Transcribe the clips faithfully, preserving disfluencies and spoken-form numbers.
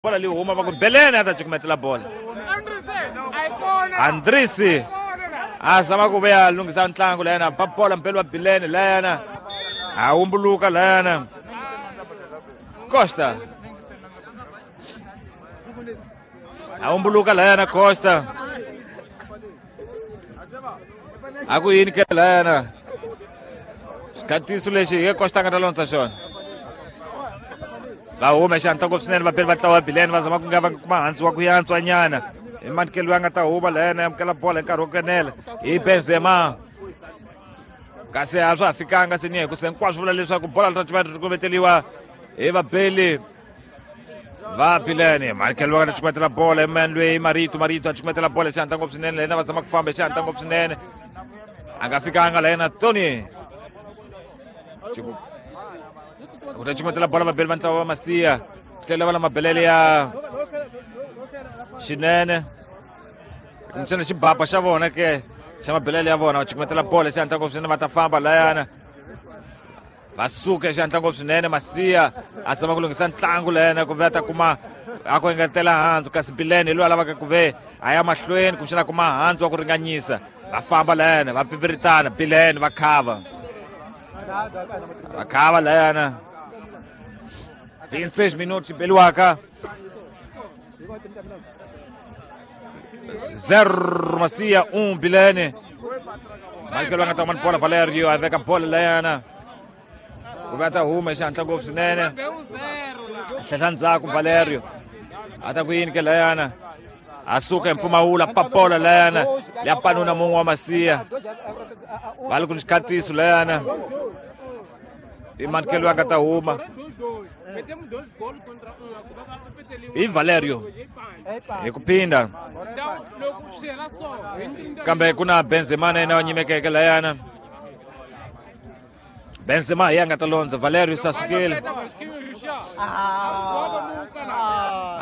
Bola leyi huma va ku Belene a ta cukumetela bola. Andrisi a zama ku vuya lunghisa ntlangu layana ba bola mpelo wa Bilene layana a humbuluka layana Costa a humbuluka layana Costa a ku yini ke layana xikhatiso lexi hi Costa nga ta londza xona va huma xantla ngopfu swinene vabeli va ntlawa wa Bilene va zama ku nga va kuma handzu wa ku yantswa nyana hi manikelo ya nga ta huma layana ya amukela bola hi nkarhi wo kenela hi Benzema kasi a swa ha fikanga se ni hi ku se hinkwaswo vula leswaku bola ri ta ri kuveteliwa hi vabeli va Bilene. Manikelo wa nga ta cukumetela bola hi mani loyi Marito Marito a cukumetela bola xantla ngopfu swinene layena va zama ku famba hi xantla ngopfu swinene a nga fikanga layena Tony ku ta cukumetela bola vabeli va ntlawa wa Masiya tlhela va la mabelele ya xinene kumbexana xibaba xa vona ke xa mabelele ya vona va cukumetela bola xantla ngopfu swinene va ta famba layana va suka xantla ngopfu swinene Masiya a zama ku lunghisa ntlangu layana ku ve a ta kuma a ku engetela handzu kasi Bilene hi loyi a lavaka ku ve a ya mahlweni kumbexana a kuma handzu wa ku ringanyisa va famba layana va pfipfiritana Bilene va khava va khava layana vinte e seis minutos beliwaka zero Masiya um Bilene. Michael nga ta kuma bola Valerio a veka bola layana ku va ta huma xantla ngopfu swinene hlehla ndzhaku Valerio a ta ku yini ke layana a suka hi mpfumawula papola layana ya panuna mun'we wa Masiya va li ku ni xikhatiso layana i manikelo ya nga ta huma hi Valerio hi ku phinda kambe ku na Benzema na yena wa nyimekeke layana Benzema hi ya nga ta londza Valerio sa sukile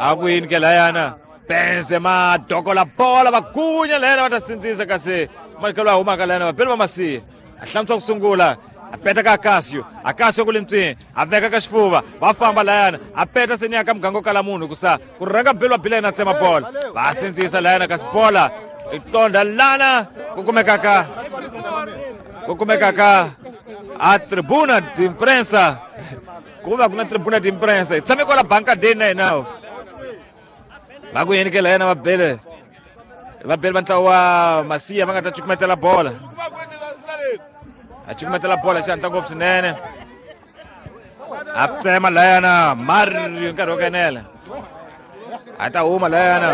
a ku yini ke layana Benzema dokola bola va gunya layana va ta sindzisa kasi manikelo a humaka layana vabeli va Masiya a hlantswa ku sungula a peta ka Akasio Akasio ku le ntswini a veka ka xifuva va famba layana a peta seni ya ka muganga wo kala munhu kusa ku rhanga beli wa Bilene a tsema bola va sindzisa layana kasi bola i tonda lana ku kumekaka ku kumekaka a tribuna de imprensa ku va ku na tribuna de imprensa hi tshame kwala bankadeni na hina va ku yini ke layana va bele va bele va ntlawa wa Masiya va nga ta cukumetela bola a cukumetela bola xantla ngopfu swinene a tsema layana Mario nkarhi wo kenela a ta huma layana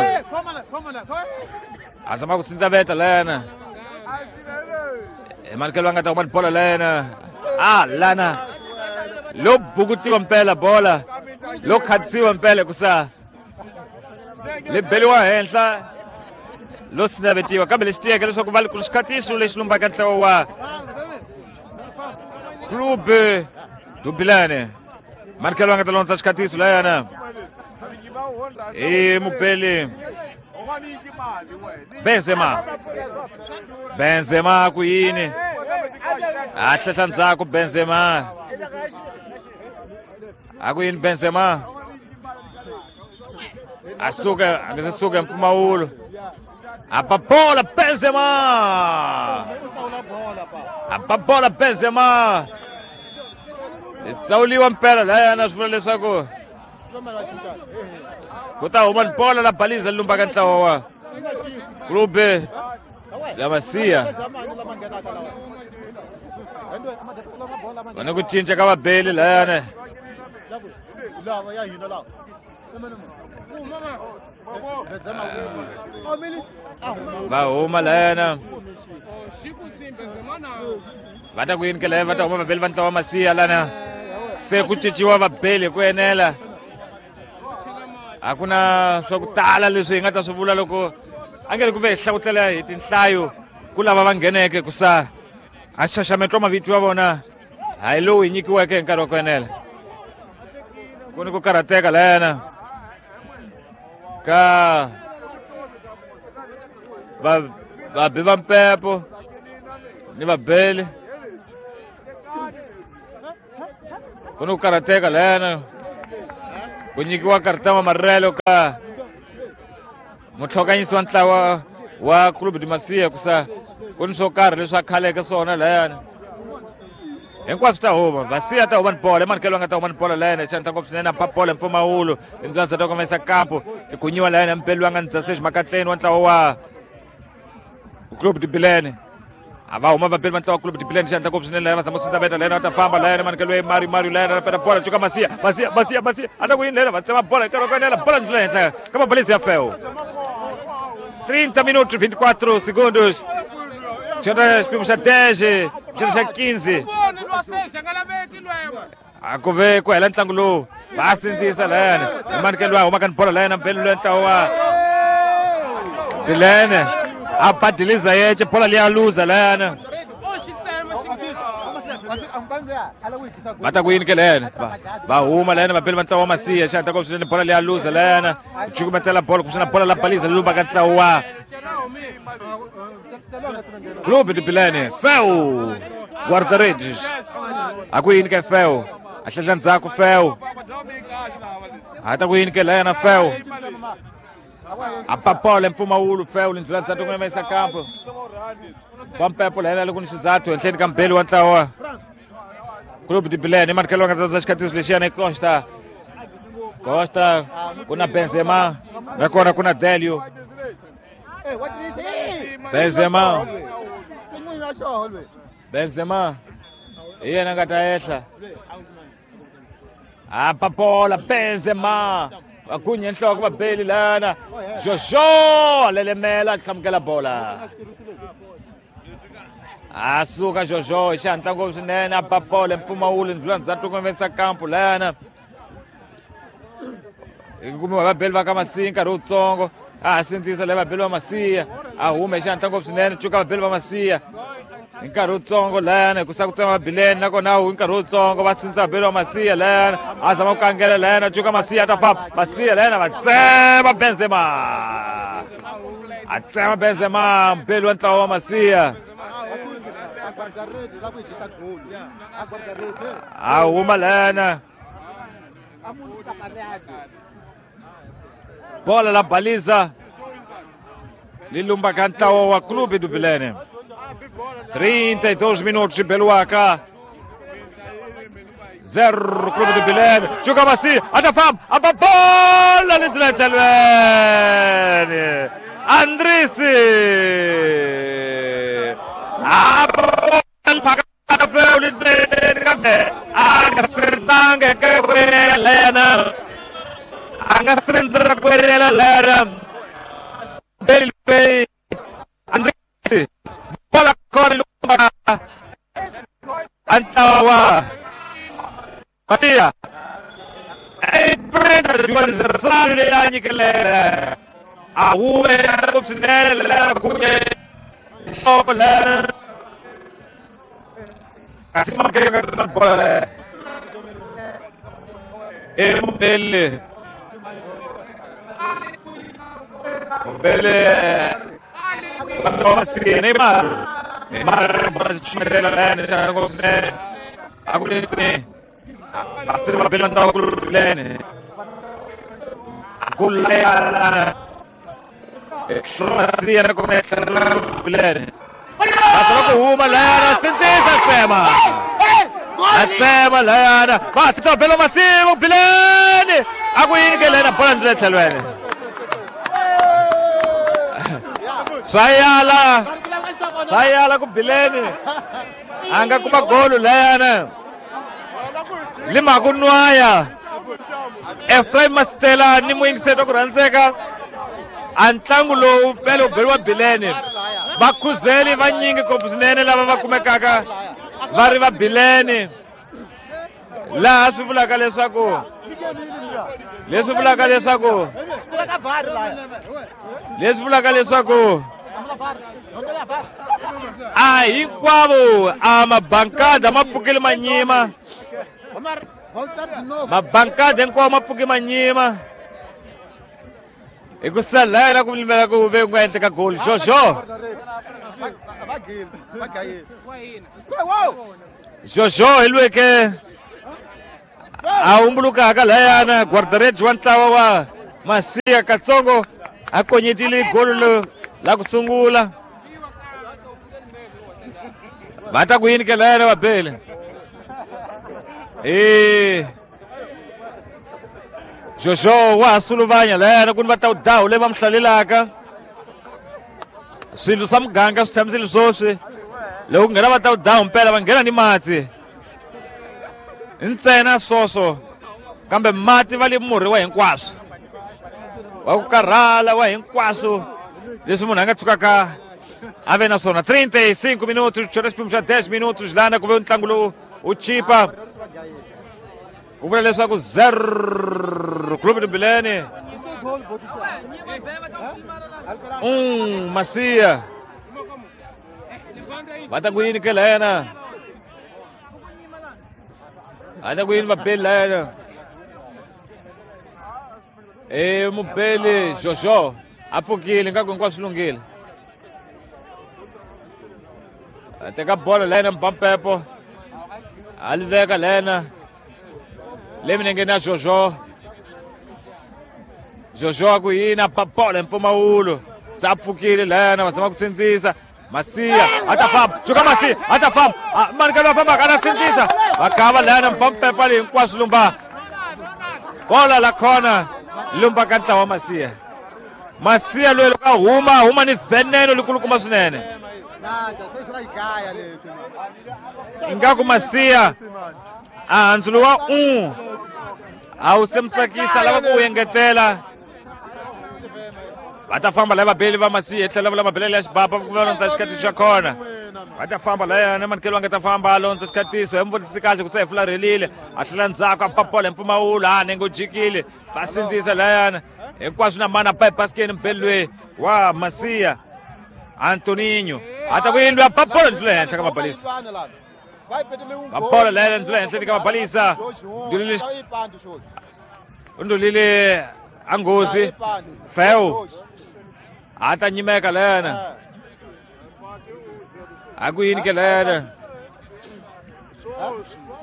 a zama ku sindzaveta layana hi manikelo va nga ta huma bola layana a lana lo bukutiwa mpela bola lo khatsiwa mpela kusa le beliwa henhla lo sinavetiwa kambe lexi tiyeke leswaku va li ku xikhatiso lexi lumbaka ntlawa wa Clube do Bilene. Manikelo nga ta londza xikhatiso layana i mubeli Benzema Benzema ku yini a hlehla ndzhaku Benzema a ku yini Benzema a suka a nga se suka mpfumawulo a ba bola Benzema a ba bola Benzema tsawuliwa mpela layana swi vula leswaku ku ta huma bola la baliza lumbaka ntlawa wa Clube ya Masiya va na ku cinca ka vabeli layana va huma layana va ta ku yini ke laya va ta huma vabeli va ntlawa wa Masiya lana se ku cinciwa vabeli hi ku enela a ku na swa ku tala leswi hi nga ta swi vula loko a nge ri ku ve hi hlawutela hi tinhlayo ku lava va ngheneke ku sa a xaxameto wa mavito ya vona a hi lowu hi nyikiweke hi nkarhi wa ku enela ku ni ku karhateka layana ka va vabi va mpepo ni vabeli ku ni ku karhateka layana Ku nyikiwa karata amarelo ka mutlhokanyisi wa ntlawa wa Clube de Macia ku sa ku ni swo karhi leswi a khaleke swona layani. Hinkwaswo ta huma Masia ta huma ni bola emanikelo nga ta huma ni bola layani xanta ngopfu swinene a bola mpfumawulo indzanza ta komesa kampo ikunyiwa layani mpelu nga ndzase makatleni wa ntlawa wa Clube de Bilene. A va huma vapeli va ntlawa Clube de Bilene xanta ngopfu swinene layani va zama ku beta layani va ta famba layani manikelo ya Mario Mario layani a peta bola cuka Masia Masia Masia Masia a ta ku yini layani va tsema bola hi nkarhi wa ku enela bola ndlela henhla ka mabalezi ya feo. trinta minutos vinte e quatro segundos. Xana xipimo xa dez, xana xa quinze. A ku ve ku hela ntlangu lowu va sindzisa layani manikelo wa huma ka ni bola layani mpelo loyi ntlawa wa Bilene a badiliza yece bola liya luza layani va ta ku yini ke layani va huma layani vapeli va ntlawa wa Masia xana ta swinene bola liya luza layani cukumetela bola kumbexana bola la baliza lumba ka ntlawa wa Clube de Bilene. Feu guarda-redes a ku yini ke feu a hlehla ndzhaku feu a ta ku yini ke layana feu a papola mpfumawulo feu lindlula ndzhaku ku yimisa kampo Pampepo layana loko ni xizathu henhleni ka mbeli wa ntlawa Clube de Bilene manikelo nga ta xikatiso lexiyana i Costa Costa ku na Benzema nakona ku na Delio Benzema Benzema hi yena nga ta ehla a papola Benzema vakunye nhloko vabeli lana Jojo lelemela hlamukela bola a suka Jojo hi xihatla ngopfu swinene a papola mpfumawulo ndlula ndzhaku ku vesa kampo lana hi kumiwa vabeli va ka Masia nkarhi wutsongo a sindzisa leyi vabeli va Masia a huma hi xihatla ngopfu swinene cuka vabeli va Masia hi nkarhi wutsongo layani hi ku sa ku tsema Bilene nakona hi nkarhi wutsongo va sindza vabeli va Masia layani a zama ku kangela layani a cuka Masia a ta famba Masia layani va tsema Benzema a tsema Benzema mbeli wa ntlawa wa Masia a huma layana bola la baliza lilumba ka ntlawa wa Clube do Bilene. trinta e dois minutos de Beluaca zero Clube do Bilene. Juga Macia a ta famba a bola lindleleni Andrisi a bola phakata feu lindleleni kambe a nga sirtanga ka lena a nga sirtanga ku lena Beli Andrisi bola kona lumba Antawa Masia e prende adversario lenyikele a hume swinene lera kunye nhloko lera kasi makeka bola e Mbele Mbele Masia Neymar Neymar bola ximela lena xa ngopfu a ku leni a tsema bela ntlawa ku lene ku lena Masia na kona lene a tsema ku huma lena sindzisa tsema a tsema lena va tsema bela Masia ku bilene a ku yini ke lena bola ndlela tlhelweni swa yala swa yala ku bilene a nga kuma golo lena lima ku nwaya Ephraim Mastela ni muyingiseti wa ku rhandzeka a ntlangu lowu pele wu beriwa Bilene vakhuzeli vanyingi ngopfu swinene lava va kumekaka va ri va Bilene laha swi vulaka leswaku leswi vulaka leswaku leswi vulaka leswaku a hinkwavo a mabankada ma pfukile manyima mabankada hinkwawo ma pfuke manyima hi ku salela ku limela ku ve ku nga endleka goli Jojo Jojo hi lweke A humbulukaka layana guardareds wa ntlawa wa Masiya katsongo a konyetile golo la ku sungula. Va ta ku yini ke layana vabeli? Eh Jojo wa suluvanya layana ku ni va ta dawu leyi va mi hlalelaka. Swilo swa muganga swi tshamisile swoswi. Loko ku nghena va ta dawu mpela va nghena ni mati. Ntsena swoswo kambe mati va le murhi wa hinkwaswo. Wa ku karhala wa hinkwaswo leswi munhu a nga tshukaka a ve na swona. trinta e cinco minutos, xo xiphemu xa dez minutos lana ku ve ntlangu lowu wu chipa. Ku vula leswaku zero Clube do Bilene um Masiya. Va ta ku yini ke layana? Va ta ku yini vabeli layana? E mubeli Jojo a pfukile nga ku hinkwaswo swi lunghile. A teka bolo layana Mbampepo a li veka layana le minengeni ya Jojo. Jojo a ku yini a ba bolo hi mpfumawulo se a pfukile layana va zama ku sindzisa. Masiya a ta famba cuka Masiya a ta famba manikelo a fambaka a ta sindzisa va kava layana Mbampepo le hinkwaswo lumba bola la khona lumba ka ntlawa wa Masiya. Masiya loyi loko a huma huma ni veneno likulukumba swinene. Ingaku Masiya a handzulo wa un a wu se mi tsakisa lava ku wu engetela. Va ta famba lava vabeli va Masiya tlhela va lava belele ya xibaba ku va londza xikatiso xa kona. Va ta famba layana manikelo a nga ta famba a londza xikatiso hi mi vutisi kahle ku se hi fularhelile a tlhela ndzhaku a ba bolo hi mpfumawulo a nenge u jikile va sindzisa layana hinkwaswo na mana ba ebasikeni mubeli loyi wa Masiya Antoninho a ta ku yini loyi a ba bolo ndlula henhla ka mabalisa. Va bolo layana ndlula henhla ka mabalisa. U ndlulile a nghozi Feu a ta nyimeka layana a ku yini ke layana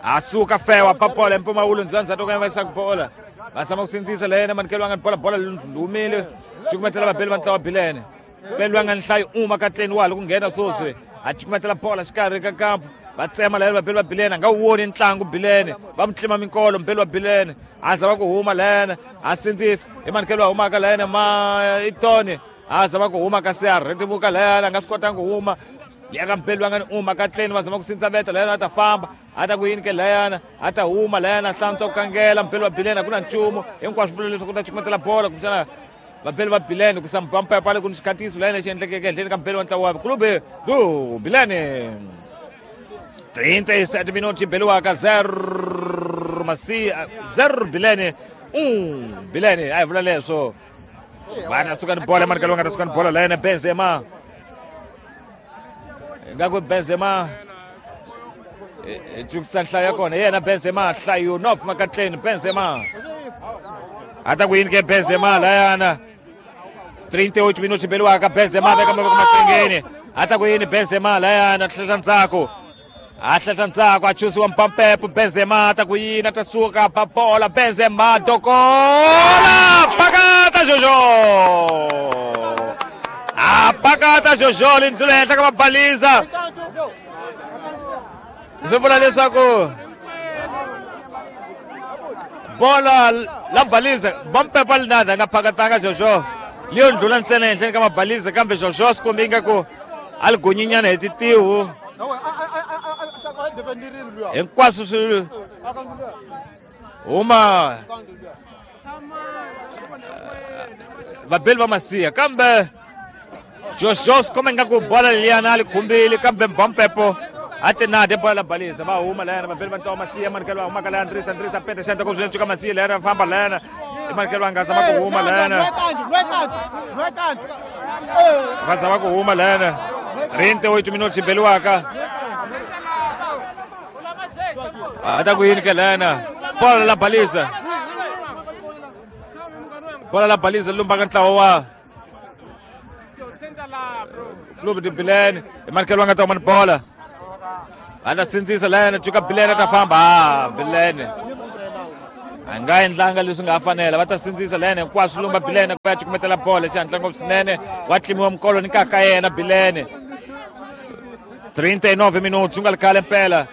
a suka Feu a ba bola hi mpfumawulo ndlula ndzhaku ka va yisa bola va zama ku sindzisa layana manikelo a nga ni bola bola lumile cukumetela vabeli va ntlawa Bilene. Beli loyi a nga ni nhlayo uma katleni wa ha loko nghena swoswi a cukumetela bola xikarhi ka kampu va tsema layana vabeli va Bilene a nga wu voni ntlangu Bilene va mu tlima minkolo mubeli wa Bilene a zama ku huma layana a sindzisa i manikelo a humaka layana ma itoni a zama ku huma kasi a rhetimuka layana a nga swi kotanga ku huma ya ka mubeli wa nga ni uma katleni va zama ku sindza veta layana a ta famba a ta ku yini ke layana a ta huma layana a hlantswa ku kangela mubeli wa Bilene a ku na nchumu hinkwaswo vula leswaku ta cukumetela bola kumbexana vabeli va Bilene ku sa Mpampepa le ku ni xikatiso layana xi endlekeke ehenhleni ka mubeli wa ntlawa wa Clube do Bilene. trinta e sete minutos beliwaka zero Masiya zero Bilene um Bilene a hi vula leswo va ta suka ni bola manikelo va nga ta suka ni bola layana Benzema ingaku Benzema hi cukisa nhlayo ya kona yena Benzema nhlayo nof makatleni Benzema a ta ku yini ke Benzema layana trinta e oito minutos beliwaka Benzema veka mavoko masengeni a ta ku yini Benzema layana tlhela ndzhaku a hlehla ndzhaku a chusiwa Mpampepo Benzema a ta ku yini a ta suka ba bola Benzema dokola pakata Jojo a pakata Jojo lindlula henhla ka mabaliza swi vula leswaku bola la baliza Mpampepo a linada a nga phakatanga Jojo leyo ndlula ntsena henhleni ka mabaliza kambe Jojo swi kombi ingaku a li gonyinyana hi titihu hinkwaswo swi huma vabeli va Masiya kambe Jojo swi komba ingaku bola liyana a li khumbile kambe Mbampepo a ti nade bola la balisa va huma layana vabeli va ntlawa Masiya manikelo va humaka layana Ndrisa Ndrisa peta xandla ku swinene cuka Masiya layana famba layana i manikelo va nga zama ku huma layana va zama ku huma layana trinta e oito minutos beliwaka a ta ku yini ke layana bola la balisa bola la balisa lumbaka ntlawa wa Clube de Bilene i manikelo va nga ta huma ni bola a ta sindzisa layana cuka Bilene a ta famba a Bilene A nga endlanga leswi nga fanela va ta sindzisa lene hinkwaswo lumba Bilene ku ya cukumetela bolo xihatla ngopfu swinene wa tlimiwa mikolo ni kaka yena Bilene trinta e nove minutos swi nga ri khale mpela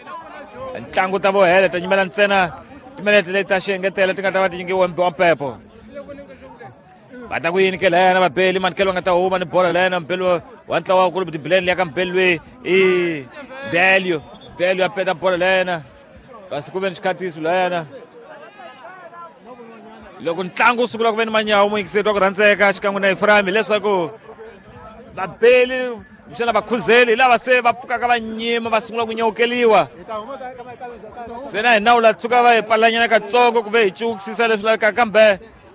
ntlangu ta vo hela ta nyimela ntsena timinete leti ta xiengetelo ti nga ta va ti nyikiwe wa mpepo va ta ku yini ke lena vabeli manikelo va nga ta huma ni bola lena mbeli wa ntlawa wa kulu Bilene liya ka mbeli loyi i Delio Delio a peta bola lena kasi ku ve ni xikhatiso lena loko ntlangu wu sungula ku ve ni manyawu muyingiseri wa ku rhandzeka xikan'we na Efraim hileswaku vabeli xana vakhuzeli hi lava se va pfukaka va nyima va sungula ku nyawukeliwa se na hi nawu la tshuka va hi pfalanyana katsongo ku ve hi cukisisa leswi lavekaka kambe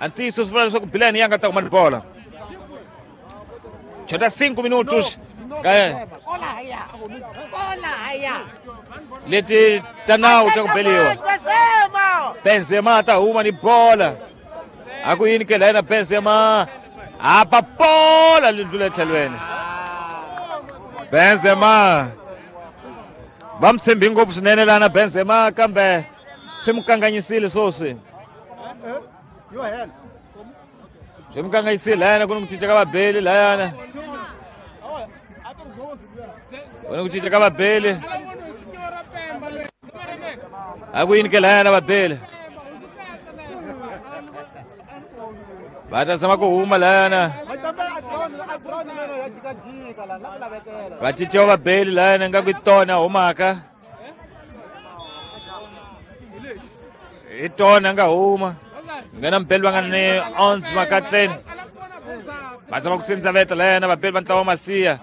a ntiyiso swi vula leswaku Bilene ya nga ta huma ni bola chota cinco minutos leti ta nawu ta ku beliwa Benzema ta huma ni bola a ku yini ke la yena Benzema a ba bola li ndlula etlhelweni Benzema va mi tshembi ngopfu swinene lana Benzema kambe swi mi kanganyisile swoswi swi mi kanganyisile layana ku ni ku cinca ka vabeli layana ku ni ku cinca ka vabeli a ku yini ke layana vabeli va ta zama ku huma layana va cinciwa vabeli layana ingaku i tona humaka i tona nga huma nghena mbeli va nga ni onze makatleni va zama ku sindzaveta layana vabeli va ntlawa Masiya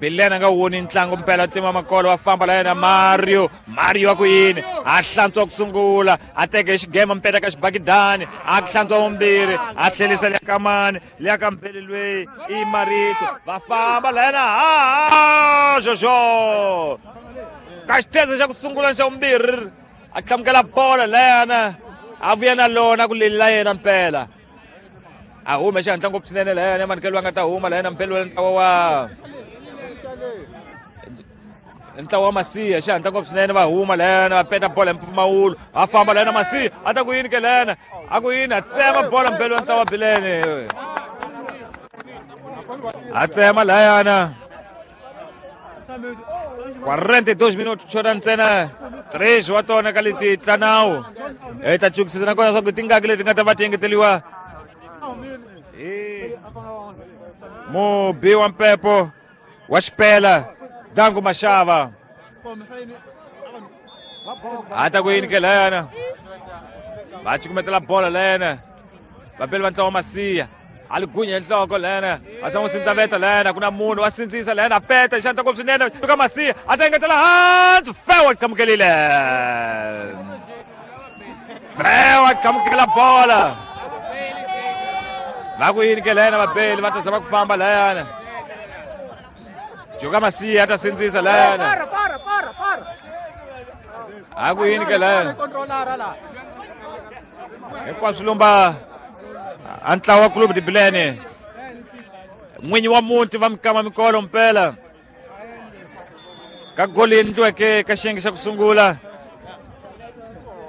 Bilene a nga woni ntlangu mpela tlima makolo wa famba layena Mario Mario a ku yini a hlantswa ku sungula a teke xigema mpela ka xibakidani a hlantswa vumbirhi a tlhelisa liya ka mani liya ka mbeli lweyi i Marito va famba layena ha Jojo ka xitheze xa ku sungula xa vumbirhi a hlamukela bola layana a vuya na lona ku leli la yena mpela a hume xihatla ngopfu swinene layana manikelo va nga ta huma layena mpela wa ntlawa wa ntlawa wa Masiya xihatla ngopfu swinene va huma layana va peta bola hi mpfumawulo va famba layana Masiya a ta ku yini ke layana a ku yini a tsema bola mbeli wa ntlawa wa Bilene a tsema layana quarenta e dois minutos xota ntsena três wa tona ka leti ta nawu hi ta cukisisa nakona leswaku tingaki leti nga ta va ti engeteliwa hi mubi wa mpepo wa xipela Dangu Mashava a ta ku yini ke layana va cukumetela bola layana vabeli va ntlawa Masiya a li gunya hi nhloko layana va zama ku sindzaveta layana ku na munhu wa sindzisa layana a peta xanta ngopfu swinene ka Masiya a ta engetela hansi Fewa qamukelile Fewa qamukela bola va ku yini ke layana vabeli va ta zama ku famba layana Joka Masiya a ta sindzisa layana a ku yini ke layana hinkwaswo lumba a ntlawa Clube de Bilene n'winyi wa muti va mikama mikolo mpela ka goli endliweke ka xiyenge xa ku sungula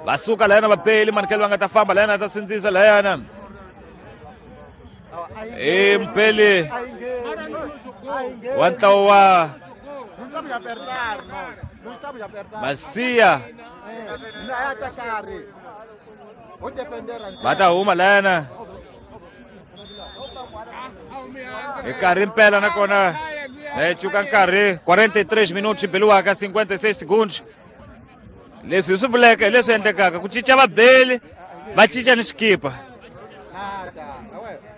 va suka layana vabeli manikelo va nga ta famba layana a ta sindzisa layana i mpeli wa ntlawa wa Masiya va ta huma layana hi nkarhi mpela nakona hi cuka nkarhi quarenta e três minutos beliwaka cinquenta e seis segundos leswi hi swi vuleke hi leswi endlekaka ku cinca vabeli va cinca ni xikipa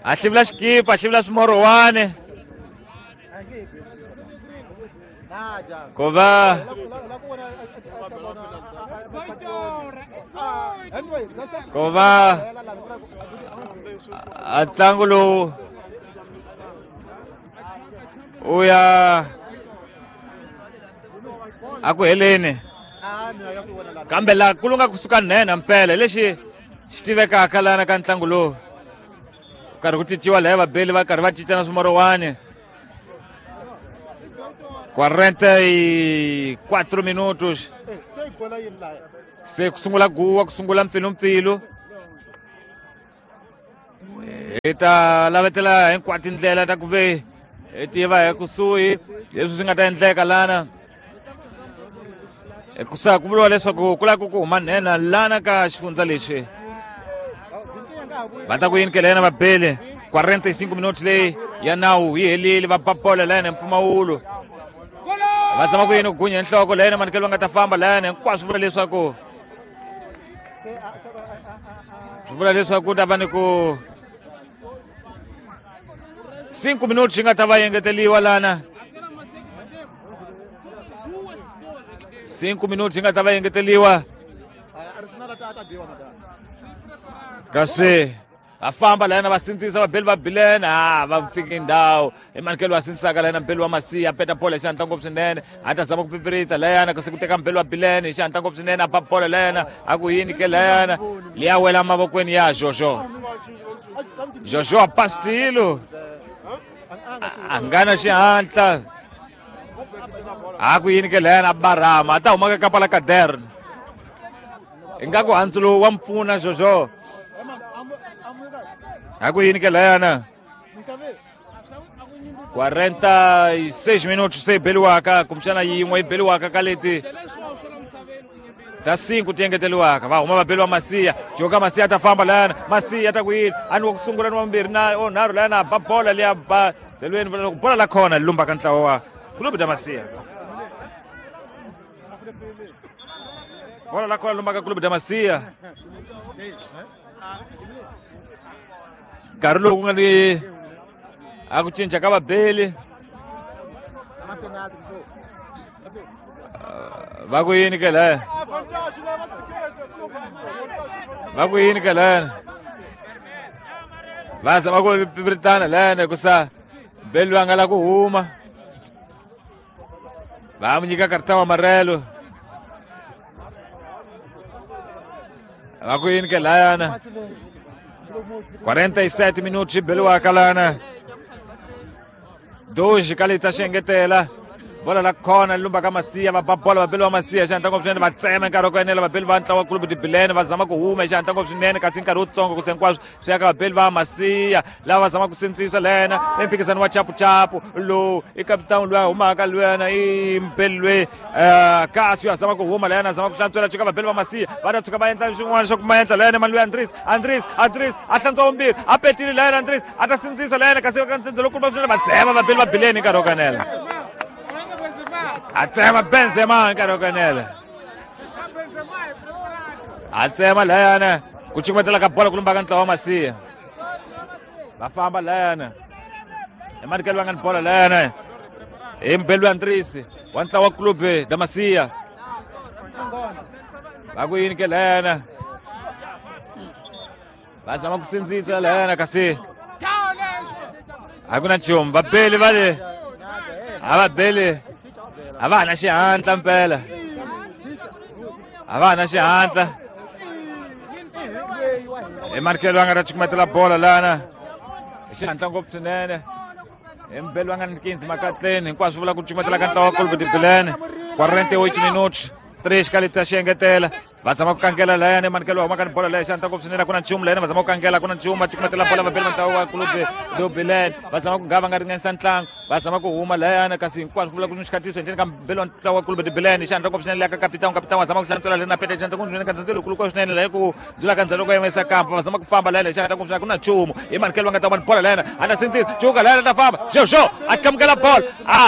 a hlivula xikipa a hlivula swimorowani ku va ku va a ntlangu lowu u ya a ku heleni kambe laha ku lunga kusuka nhenha mpela lexi xi tivekaka lana ka ntlangu lowu karhi ku cinciwa laya vabeli va karhi va cinca na swimorowani quarenta e quatro minutos Se ku sungula guwa ku sungula mpfilumpfilu. Hi ta lavetela hinkwato tindlela ta ku ve hi tiva hi kusuhi leswi swi nga ta endleka lana. Hikusa ku vuriwa leswaku ku lava ku huma nhenha lana ka xifundza lexi. Va ta ku yini ke lena vabeli quarenta e cinco minutos leyi ya nawu yi helile va ba bola lana hi mpfumawulo. Va zama ku yini ku gunya nhloko lena manikelo va nga ta famba lana hinkwaswo vula leswaku swi vula leswaku ku ta va ni ku cinco minutos yi nga ta va engeteriwa lana. Cinco minutos yi nga ta va engeteriwa. Kasi va famba lana va sindzisa vabeli va Bilene ah va fiki ndhawu i manikelo va sindzisaka lana mbeli wa Masiya peta bola hi xihatla ngopfu swinene a ta zama ku pipirita layana kasi ku teka mbeli wa Bilene hi xihatla ngopfu swinene a ba bola layana a ku yini ke layana liya wela mavokweni ya Jojo. Jojo a pastilo a nga na xihatla a ku yini ke layana a barama a ta huma ka kapa la caderno ingaku handzu lowu wa mpfuna Jojo. A ku yini ke layana quarenta e seis minutos se yi beliwaka kumbexana yin'we yi beliwaka ka leti ta cinco ti engeteriwaka va huma va beliwa Masiya joka Masiya ta famba layana Masiya ta ku yini a ni wa ku sungula ni wa vumbirhi na o nharhu layana ba bola liya ba tlhelweni vula loko bola la khona lumba ka ntlawa wa Clube da Masiya. Bola la khona lumba ka Clube da Masiya. Nkarhi lowu ku nga ni a ku cinca ka vabeli va ku yini ke laya va ku yini ke laya va zama ku pipiritana layana hikusa beli va nga la ku huma va mu nyika karta wa marelo va ku yini ke layana quarenta e sete minutos yi beliwaka lana dois ka leti ta xi engetela bola la khona lumba ka Masiya va ba bola va beliwa Masiya xihatla ngopfu swinene va tsema nkarhi wa ku enela vabeli va ntlawa Clube de Bilene va zama ku huma xihatla ngopfu swinene kasi nkarhi wutsongo ku se hinkwaswo swi ya ka vabeli va Masiya lava va zama ku sindzisa lena i mphikizano wa chapuchapu lowu i kapitani loyi a humaka lwena i mbeli loyi kasi yo a zama ku huma lena a zama ku hlantswela tshuka vabeli va Masiya va ta tshuka va endla swin'wana swa ku ma endla lena mani loyi Andris Andris Andris a hlantswa vumbirhi a petile lena Andris a ta sindzisa lena kasi ka nsindzo lowukulu va swinene va tsema vabeli va Bilene nkarhi wo kanela. A tsema Benzema nkarhi wo kanela. A tsema layana ku cukumetela ka bola ku lumba ka ntlawa wa Masiya. Va famba layana. Emanikelo va nga ni bola layana. Hi mbeli wa Andris wa ntlawa wa Clube da Masiya. Va ku yini ke layana. Va zama ku sindzisa layana kasi a ku na nchumu vabeli va le a va beli a va ha na xihatla mpela a va ha na xihatla i manikelo va nga ta cukumetela bola lana hi xihatla ngopfu swinene hi mbeli va nga ni quinze makatleni hinkwaswo vula ku cukumetela ka ntlawa wa Clube de Bilene quarenta e oito minutos três ka leti ta xi engetela va zama ku kangela layana manikelo wa huma ka ni bola leyi xihatla ngopfu swinene a ku na nchumu layana va zama ku kangela a ku na nchumu va cukumetela bola vabeli va ntlawa wa Clube do Bilene va zama ku nga va nga ringanisa ntlangu va zama ku huma layana kasi hinkwaswo ku vula ku ni xikhatiso endleni ka mbeli wa ntlawa wa Clube de Bilene xihatla ngopfu swinene leya ka kapitani kapitani wa zama ku hlantswela lena pete xihatla ngopfu swinene ka ndzhendzelo lowukulu swinene leyi ku dzula ka ndzhelo ku yimisa kampa va zama ku famba layana xihatla ngopfu swinene a ku na nchumu hi manikelo va nga ta va ni bola layana a ta sindzisa cuka layana ta famba Jojo a tlamukela bola a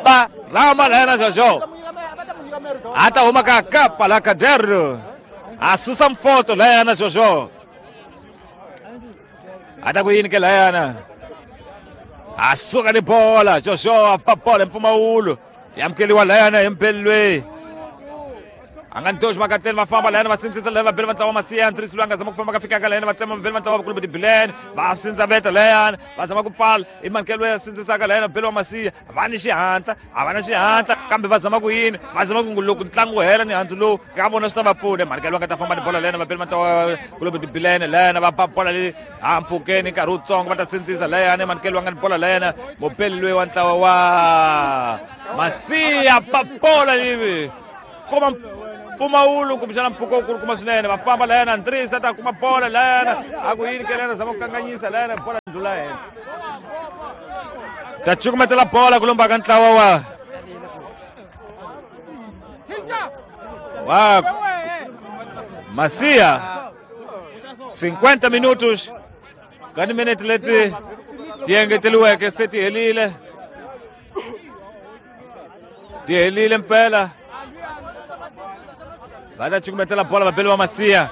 ba rama layana Jojo a ta huma ka kapa la caderno a susa mfoto layana Jojo a ta ku yini ke layana a suka ni bola Jojo a ba bola mpfumawulo yi amukeriwa layana hi mbeli loyi a nga ni doxi makatleni va famba layana va sindzisa layana vabeli va ntlawa wa Masiya Andris loyi a nga zama ku famba ka fikaka layana va tsema vabeli va ntlawa wa Clube de Bilene va sindza veta layana va zama ku pfala i manikelo loyi a sindzisaka layana vabeli wa Masiya va ni xihatla a va na xihatla kambe va zama ku yini va zama ku loko ntlangu wu hela ni handzu lowu ka vona swi ta va pfuna manikelo va nga ta famba ni bola layana vabeli va ntlawa wa Clube de Bilene layana va ba bola leyi hampfhukeni nkarhi wutsongo va ta sindzisa layana manikelo va nga ni bola layana mubeli loyi wa ntlawa wa Masiya ba bola leyi koma Mpfumawulo kumbexana mpfhuka wu kulukumba swinene va famba layana Andrisa ta kuma bola layana a ku yini ke layana zama ku kanganyisa layana bola ndlula henhla ta cukumetela bola ku lomba ka ntlawa wa wa Masia cinquenta minutos ka timinete leti ti engeteliweke se ti helile ti helile mpela va ta cukumetela bola vabeli va Masia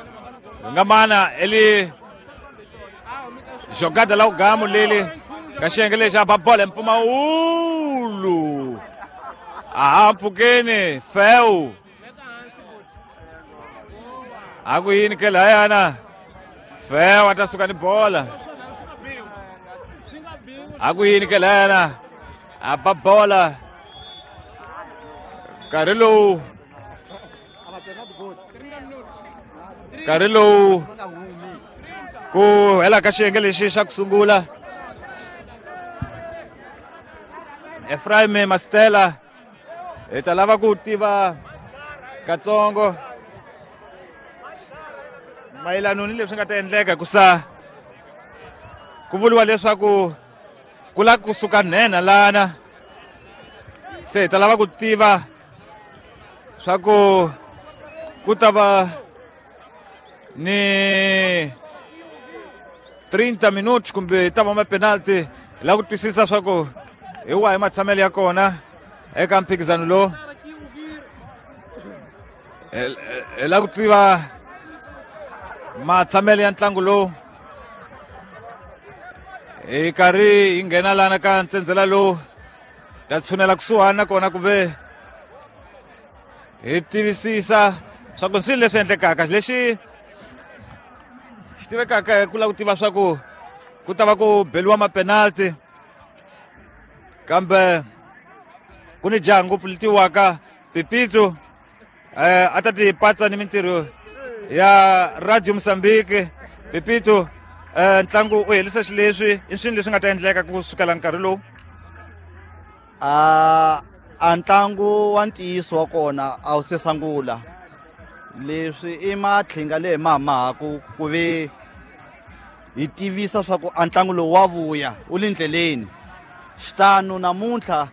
nga mana eli jogada la ugamu leli ka xiyenge lexi a ba bola mpfumawulo aha mpfhukeni feu a ku yini ke layana feu a ta suka ni bola a ku yini ke layana a ba bola nkarhi lowu nkarhi lowu ku hela ka xiyenge lexi xa ku sungula Ephraim Mastela hi ta lava ku tiva katsongo mayelano ni leswi nga ta endleka hikusa ku vuriwa leswaku ku lava kusuka nhenha lana se hi ta lava ku tiva swa ku ku ta va ni trinta minutos kumbe ta va ma penalty hi lava ku twisisa swa ku hi wahi matshamelo ya kona eka mphikizano lowu hi lava ku tiva matshamelo ya ntlangu lowu hi karhi hi nghena lana ka ntsendzela lowu ta tshunela kusuhani nakona kumbe hi tivisisa swa ku swilo leswi endlekaka lexi xi tivekaka hi ku lava ku tiva swa ku ku ta va ku beliwa mapenalty kambe ku ni jaha ngopfu letiwaka Pipitso eh a ta ti patsa ni mintirho ya Radio Mozambique Pipito eh ntlangu u helisa xileswi i swilo leswi nga ta endleka ku sukela nkarhi lowu a a ntlangu wa ntiyiso wa kona a wu se sungula leswi i matlhinga leyi mahamahaku ku ve hi tivisa swa ku a ntlangu lowu wa vuya wu le ndleleni xitano namuntlha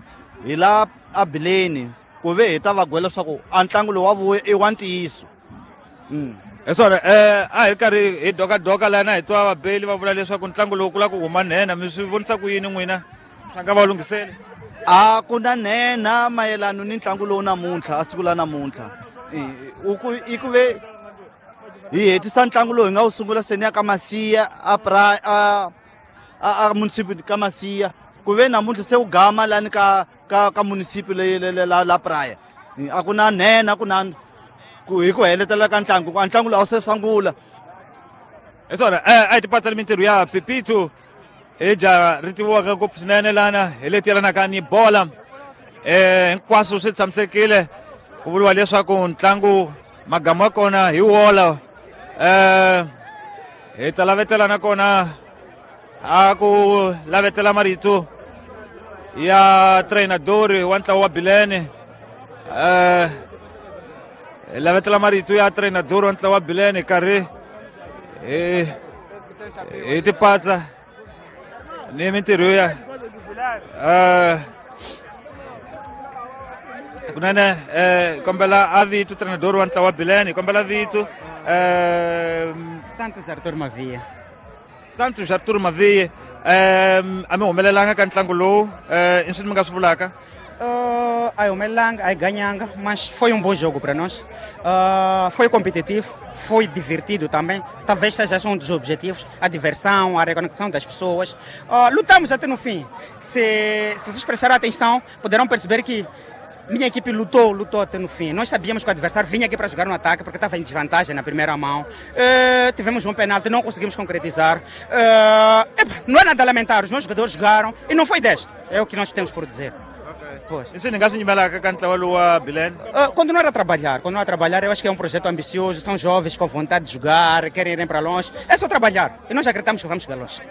hi la a bileni ku ve hi ta va gwela swa ku a ntlangu lowu wa vuya i wa ntiyiso hi swona eh a hi karhi hi dokadoka lana hi twa vabeli va vula leswaku ntlangu lowu ku lava ku huma nhenha mi swi vonisa ku yini n'wina swa nga va lunghiseli a ku na nhenha mayelano ni ntlangu lowu namuntlha a siku la namuntlha i ku ve hi hetisa ntlangu lowu hi nga wu sungula seni ya ka Masia a pra a a municipal ka Masia ku ve namuntlha se wu gama lani ka ka ka municipal le la la Praia a ku na nhenha ku na ku hi ku heletela ka ntlangu ku a ntlangu lowu a wu se sungula hi swona a hi tipatsa ni mintirho ya Pipito hi jaha ri tiviwaka ngopfu swinene lana hi leti yelanaka ni bola eh hinkwaswo swi tshamisekile ku vuriwa leswaku ntlangu magamu wa kona hi wola eh hi ta lavetela nakona a ku lavetela marito ya treinador wa ntlawa wa Bilene eh hi lavetela marito ya treinador wa ntlawa wa Bilene karhi hi hi tipatsa ni mintirho ya eh kunene eh kombela a vito treinador wa ntlawa wa Bilene kombela vito eh Santos Arthur Mavia Santos Arthur Mavia eh a mi humelelanga ka ntlangu lowu eh i swini mi nga swi vulaka Uh, a humelelanga, a ganhanga, mas foi um bom jogo para nós. Uh, foi competitivo, foi divertido também. Talvez seja esse um dos objetivos, a diversão, a reconexão das pessoas. Uh, lutamos até no fim. Se, se vocês prestarem atenção, poderão perceber que minha equipe lutou, lutou até no fim. Nós sabíamos que o adversário vinha aqui para jogar no ataque, porque estava em desvantagem na primeira mão. Uh, tivemos um penalti, não conseguimos concretizar. Uh, não é nada a lamentar, os meus jogadores jogaram e não foi deste. É o que nós temos por dizer. Pois. Uh, continuar a trabalhar, continuar a trabalhar, eu acho que é um projeto ambicioso, são jovens com vontade de jogar, querem ir para longe, é só trabalhar e nós acreditamos que vamos chegar longe.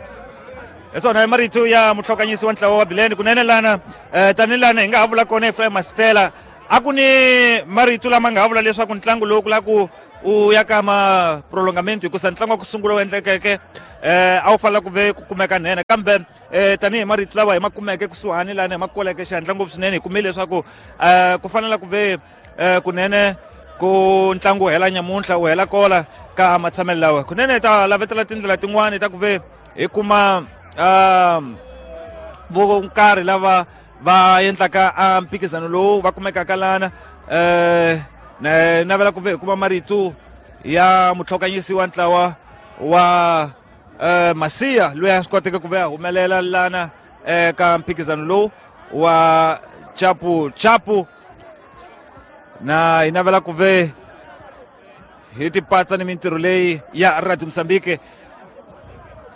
Swona marito ya muhlokanyisi wa ntlawa wa Bilene kunene lana eh tani lana hi nga ha vula kona Ephraim Mastela A ku ni marito lama nga vula leswaku ntlangu lowu ku la ku u ya ka ma prolongamento hikusa ntlangu wa ku sungula wu endlekeke eh a wu fanele ku ve ku kumeka nene kambe eh tanihi marito lawa hi ma kumeke kusuhani lani hi ma koleke xihatla ngopfu swinene hi kumile leswaku eh ku fanele ku ve eh kunene ku ntlangu wu hela nyamuntlha wu hela kola ka matshamelo lawa kunene hi ta lavetela tindlela tin'wani ta ku ve hi kuma um vo nkarhi lava va endlaka a mphikizano lowu va kumekaka lana eh na navela ku ve hi kuma marito ya mutlhokanyisi wa ntlawa wa eh Masia loyi a swi koteke ku ve a humelela lana eka mphikizano lowu wa chapu chapu na hi navela ku ve hi tipatsa ni mintirho leyi ya Radio Mozambique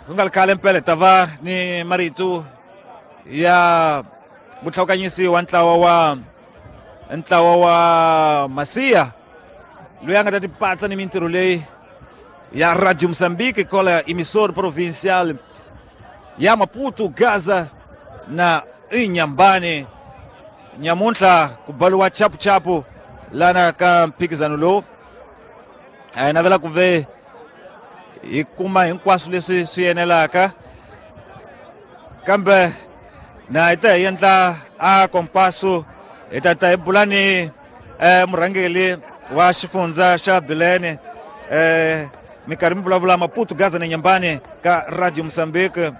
ku nga ri khale mpela hi ta va ni marito ya mutlhokanyisi wa ntlawa wa ntlawa wa Masia loyi a nga ta tipatsa ni mintirho leyi ya Radio Mozambique kola emissor provincial ya Maputo Gaza na Inhambane nyamuntlha ku baliwa chapu chapu lana ka mphikizano lowu a hi navela ku ve hi kuma hinkwaswo leswi swi enelaka kambe na hi ta hi endla a kompaso hi ta ta hi bula ni eh, murhangeri wa xifundza xa Bilene eh, minkarhi mi vulavula Maputo Gaza na Inhambane ka Radio Mozambique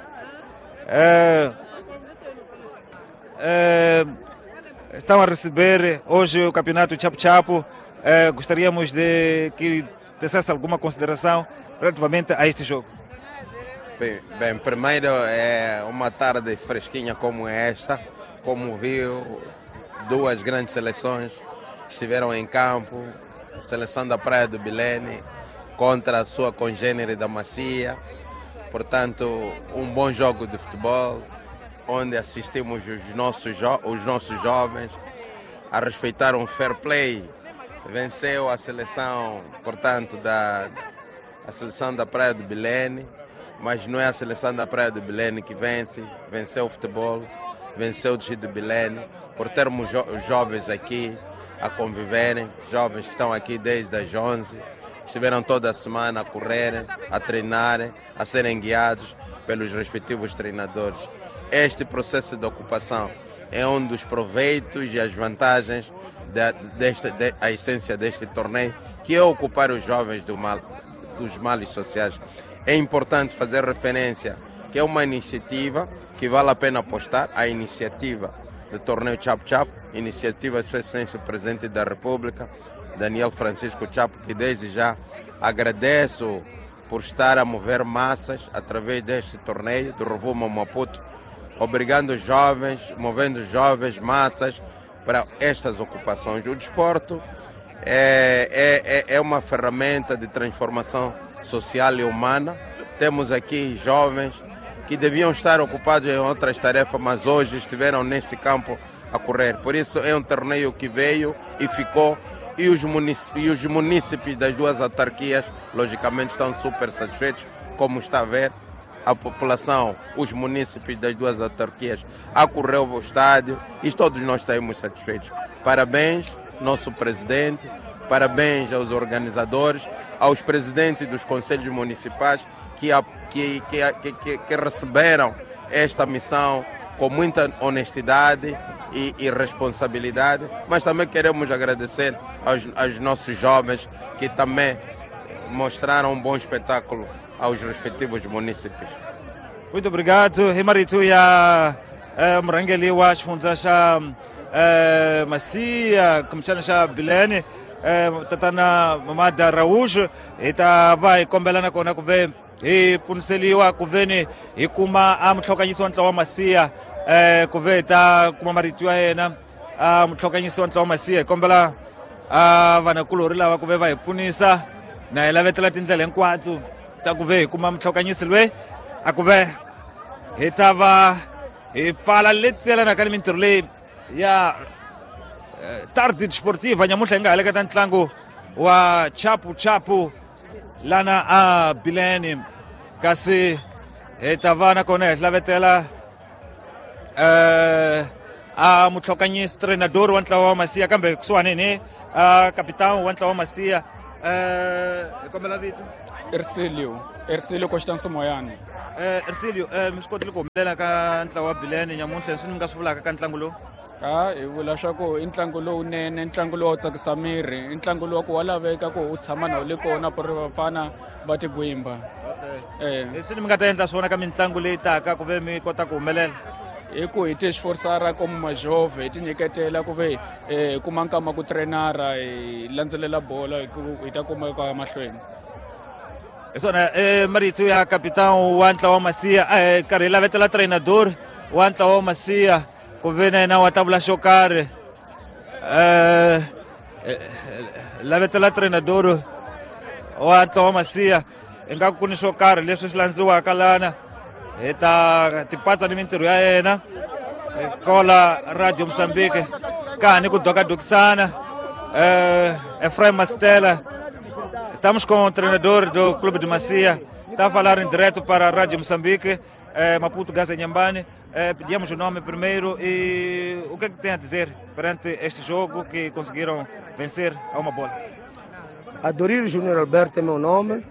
eh, eh, estão a receber hoje o campeonato Chapo Chapo. Eh, gostaríamos de que dissesse alguma consideração relativamente a este jogo. Bem, bem, primeiro é uma tarde fresquinha como esta, como viu, duas grandes seleções estiveram em campo, a seleção da Praia do Bilene contra a sua congênere da Macia, portanto um bom jogo de futebol, onde assistimos os nossos, os nossos jovens a respeitar um fair play. Venceu a seleção, portanto, da, a seleção da Praia do Bilene, mas não é a seleção da Praia do Bilene que vence, venceu o futebol, venceu o distrito do Bilene, por termos jo jovens aqui a conviverem, jovens que estão aqui desde as onze, estiveram toda a semana a correrem, a treinarem, a serem guiados pelos respectivos treinadores. Este processo de ocupação é um dos proveitos e as vantagens de, desta, de, a essência deste torneio, que é ocupar os jovens do mal, dos males sociais. É importante fazer referência que é uma iniciativa que vale a pena apostar, a iniciativa do torneio Chapo Chapo, iniciativa de Sua Excelência o Presidente da República, Daniel Francisco Chapo, que desde já agradeço por estar a mover massas através deste torneio do Rovuma Maputo, obrigando os jovens, movendo jovens, massas para estas ocupações. O desporto é, é, é uma ferramenta de transformação social e humana. Temos aqui jovens que deviam estar ocupados em outras tarefas, mas hoje estiveram neste campo a correr. Por isso é um torneio que veio e ficou, e os munícipes, e os munícipes das duas autarquias, logicamente, estão super satisfeitos, como está a ver. A população, os munícipes das duas autarquias acorreu ao estádio e todos nós saímos satisfeitos. Parabéns, nosso presidente, parabéns aos organizadores, aos presidentes dos conselhos municipais que, que, que, que, que receberam esta missão com muita honestidade e, e responsabilidade, mas também queremos agradecer aos, aos nossos jovens que também mostraram um bom espetáculo aos respectivos munícipes. Muito obrigado, Himarito ya eh, murhangeri wa xifundza xa eh, Masia kumbexana xa Bilene eh, tatana Mamada Araújo. Hi ta va hi kombela nakona ku ve hi pfuniseliwa ku veni hi kuma a mutlhokanyisi wa ntlawa wa Masia eh, ku ve hi ta kuma marito ya yena a mutlhokanyisi wa ntlawa wa Masia. Hi kombela a vanakulorhi lava ku ve va hi pfunisa na hi lavetela tindlela hinkwato ta ku ve hi kuma mutlhokanyisi loyi a ku ve hi ta va hi pfala leti yelanaka ni mintirho leyi ya Tarde Desportiva nyamuntlha hi nga heleketa ntlangu wa Chapu Chapu lana a Bilene, kasi hi ta va nakona hi hlavetela eh a mutlhokanyisi treinador wa ntlawa wa Masiya kambe kusuhani ni a capitão wa ntlawa wa Masiya. Eh hi kombela vito. Ercilio, Ercilio Constancio Moyane. Eh Ercilio, eh mi swi kotile ku humelela ka ntlawa wa Bilene nyamuntlha, leswi mi nga swi vulaka ka ntlangu lowu? A hi vula swa ku i ntlangu lowunene, ntlangu lowu tsakisa miri, i ntlangu lowu ku wa laveka ku u tshama na wu le kona ku ri vafana va tigwimba. Okay. Eh leswi mi nga ta endla swona ka mitlangu leyi taka ku ve mi kota ku humelela? Hi ku hi ti xiforisara komu majove hi ti nyiketela ku ve hi kuma nkama ku trainara hi landzelela bolo hi ku hi ta kuma ka mahlweni. Hi swona eh marito ya capitão wa ntlawa wa Masiya. Eh karhi hi lavetela treinador wa ntlawa wa Masiya ku ve na yena wa ta vula xo karhi. Eh lavetela treinador wa ntlawa wa Masiya ingaku ku ni swo karhi leswi swi landziwaka lana hi ta tipatsa ni mintirho ya yena kola Radio Mozambique ka ha ni ku dokadokisana. Eh Efraim Mastela, estamos com o treinador do Clube de Macia, está a falar em direto para a Rádio Moçambique, eh, Maputo, Gaza Inhambane. Eh, pedimos o nome primeiro e o que é que tem a dizer perante este jogo que conseguiram vencer a uma bola? Adorir Júnior Alberto é meu nome.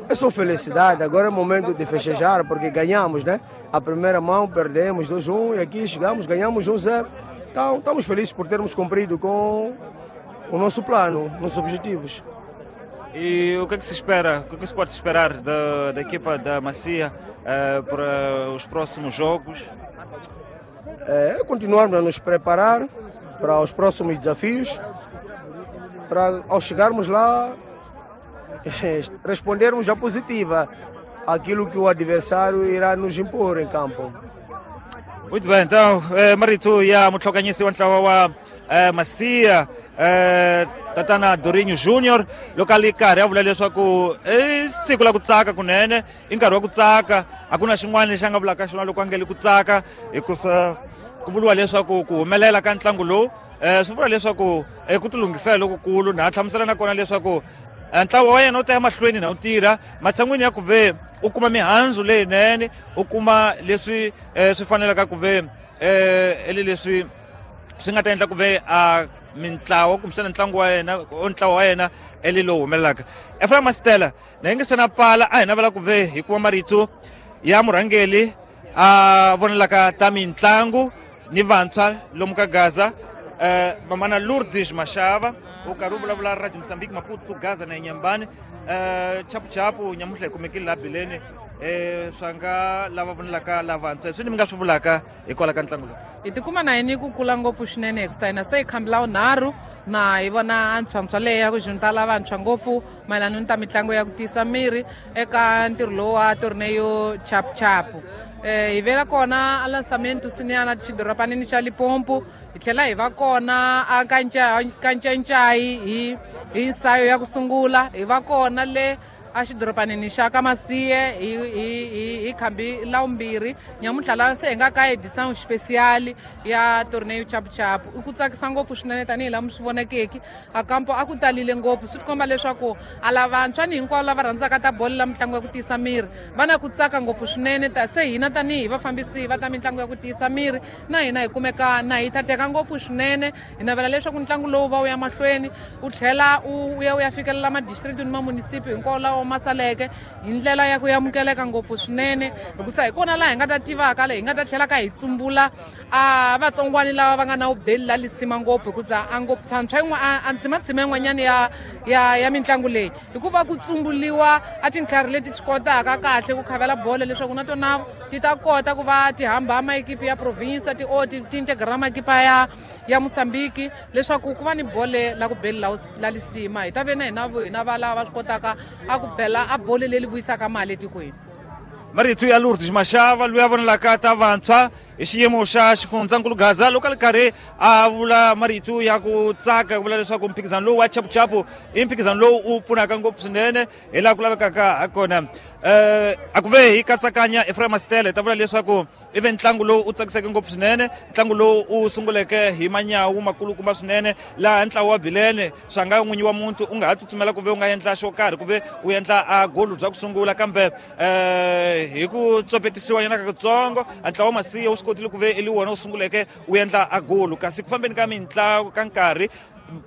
É só felicidade, agora é momento de festejar porque ganhamos, né? A primeira mão perdemos dois a um e aqui chegamos, ganhamos um zero. Então estamos felizes por termos cumprido com o nosso plano, nossos objetivos. E o que é que se espera? O que é que se pode esperar da, da equipa da Macia eh, para os próximos jogos? É continuarmos a nos preparar para os próximos desafios, para ao chegarmos lá respondermos a positiva aquilo que o adversário irá nos impor em campo. Muito bem, então, eh, marito ya mutlhokanyisi wa ntlawa wa eh, Macia eh, tatana Dorinho Júnior loko a li karhi a vula leswaku i siku la ku tsaka kunene, i nkarhi wa ku tsaka, a ku na xin'wana lexi a nga vulaka xona loko a nge le ku tsaka, hikusa ku vuriwa leswaku ku humelela ka ntlangu lowu eh, swi vula leswaku eh, ku tilunghisela lokukulu. Na hlamusela na kona leswaku ntlawa wa yena wu ta ya mahlweni na wu tirha matshan'wini ya ku ve u kuma mihandzu leyinene, u kuma leswi eh, swi fanelaka ku ve eh, ele leswi swi nga ta endla ku ve a mintlawa kumbexana ntlangu wa yena ntlawa wa yena ele lowu humelelaka. Efraim Mastela na yi nge se na pfala, a hi navela ku ve hi kuma marito ya murhangeli a vonelaka ta mitlangu ni vantshwa lomu ka Gaza, eh, mamana Lourdes Mashava u karhi u vulavula Radio Mozambique Maputo, Gaza na Inhambane. Eh chapuchapu nyamuntlha hi kumekile laha Bilene, eh swa nga lava vonelaka lavantshwa swi ni mi nga swi vulaka hikwalaho ka ntlangu lowu? Hi tikuma na yini ku kula ngopfu swinene hikusa hina se hi khambi la vunharhu na hi vona antshwantshwa leyi ya ku junta lavantshwa ngopfu mayelana ni ta mitlangu ya ku tiyisa miri eka ntirho lowu wa torneio chapuchapu. Eh hi vela kona a lançamento sinyana xidoropanini xa Limpopo, hi tlhela hi va kona a Kancancai hi hi nsayo ya ku sungula, hi va kona le a xidoropanini xa ka Masiye hi hi hi khambi la vumbirhi. Nyamuntlha la se hi nga ka edição especial ya torneio chapuchapu. I ku tsakisa ngopfu swinene tanihi laha mi swi vonekeki a kampo a ku talile ngopfu, swi tikomba leswaku a lavantshwa ni hinkwavo lava rhandzaka ta bolo la mitlangu ya ku tiyisa miri va na ku tsaka ngopfu swinene. Ta se hina tanihi vafambisi va ta mitlangu ya ku tiyisa miri na hina hi kumeka na hi tateka ngopfu swinene. Hi navela leswaku ntlangu lowu va wu ya mahlweni wu tlhela wu ya wu ya fikelela madistrict ni mamunisipi hinkwawo lawa ma saleke hi ndlela ya ku amukeleka ngopfu swinene, hikusa hi kona laha hi nga ta tivaka le hi nga ta tlhela ka hi tsumbula a vatsongwani lava va nga na vubeli la lisima ngopfu, hikusa a ngopfu tshwantshwa yin'wana a ntshimatshima yin'wanyana ya ya ya mitlangu leyi hikuva ku tsumbuliwa a tintlhari leti ti kotaka kahle ku khavela bolo leswaku na tona ti ta kota ku va ti hamba maekipi ya province ti o ti integra maekipa ya ya Mozambique leswaku ku va ni bole la ku beli la la lisima. Hi ta ve na hina hina va lava va swi kotaka a ku bela a bole leri vuyisaka mali etikweni. Marito ya Lourdes Mashava loyi a vonelaka ta vantshwa hi xiyimo xa xifundzankulu Gaza loko a li karhi a vula marito ya ku tsaka ku vula leswaku mphikizano lowu wa chapuchapu i mphikizano lowu u pfunaka ngopfu swinene hi laha ku lavekaka ha kona. Eh a ku ve hi katsakanya Ephraim Stele ta vula leswaku i ve ntlangu lowu u tsakiseke ngopfu swinene, ntlangu lowu u sunguleke hi manyawu makulukumba swinene, laha ntlawa wa Bilene swa nga n'winyi wa muntu u nga ha tsutsumela ku ve u nga endla xo karhi ku ve u endla a golu bya ku sungula, kambe eh hi ku tsopetisiwa nyana ka kutsongo ntlawa wa Masiya wu swi kotile ku ve i wona wu sunguleke u endla a golu. Kasi ku fambeni ka mintlangu ka nkarhi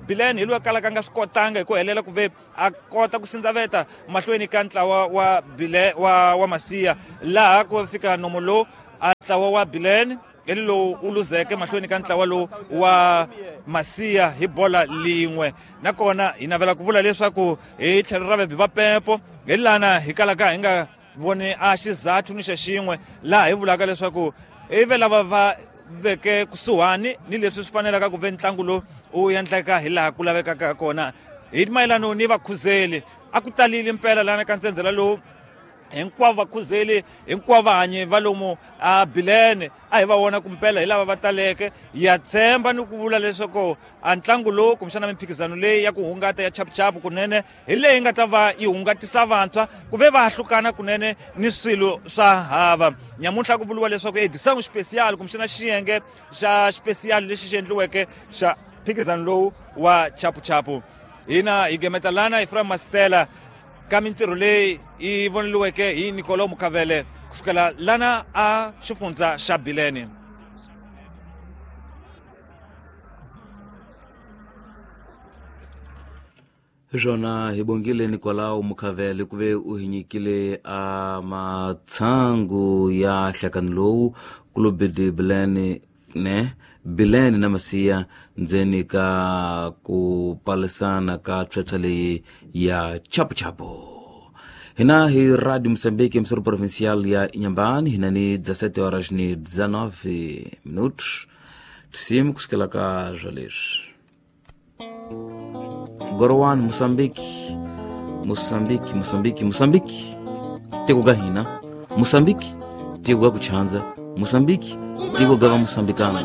Bilene hi loyi a kalaka a nga swi kotanga hi ku helela ku ve a kota ku sindzaveta mahlweni ka ntlawa wa Bile wa wa Masiya, laha ku fika nomo lowu a ntlawa wa Bilene hi lowu u luzeke mahlweni ka ntlawa lowu wa Masiya hi bola lin'we. Nakona hi navela ku vula leswaku hi tlhelo ra vabi va pempo hi lana hi kalaka hi nga voni a xizathu ni xa xin'we, laha hi vulaka leswaku i ve lava va veke kusuhani ni leswi swi fanelaka ku ve ntlangu lowu u endleka hi laha ku lavekaka kona. Hi mayelano ni vakhuzeli a ku talile mpela lana ka ntsendzela lowu, hinkwavo vakhuzeli hinkwavo vahanyi va lomu a Bilene a hi va vona ku mpela hi lava va taleke. Ya tshemba ni ku vula leswaku a ntlangu lowu kumbexana mimphikizano leyi ya ku hungata ya chapuchapu kunene hi leyi nga ta va yi hungatisa vantshwa ku ve va hlukana kunene ni swilo swa hava. Nyamuntlha ku vuriwa leswaku edição especial kumbexana xiyenge xa xipesiyali lexi xi endliweke xa mphikizano lowu wa chapuchapu. Hina hi gemeta lana Ephraim Mastela ka mintirho leyi yi voneliweke hi Nicolo Mukavele kusukela lana a xifundza xa Bilene. Swona hi bongile Nicolau Mukavele ku ve u hi nyikile a matsangu ya nhlakano lowu Clube de Bilene ne Bilene na Masiya ndzeni ka ku palisana ka pshatsha leyi ya chapuchapu. Hina hi Radio Moçambique, emissora provincial ya Inhambane, hina ni dezessete horas ni dezenove minutos. Tisimu kusukela ka zwa leswi. Gorowan Moçambique, Moçambique, Moçambique, Moçambique. Tiko ga hina, Moçambique, tiko ga kuchanza, Moçambique, tiko ga va moçambicana.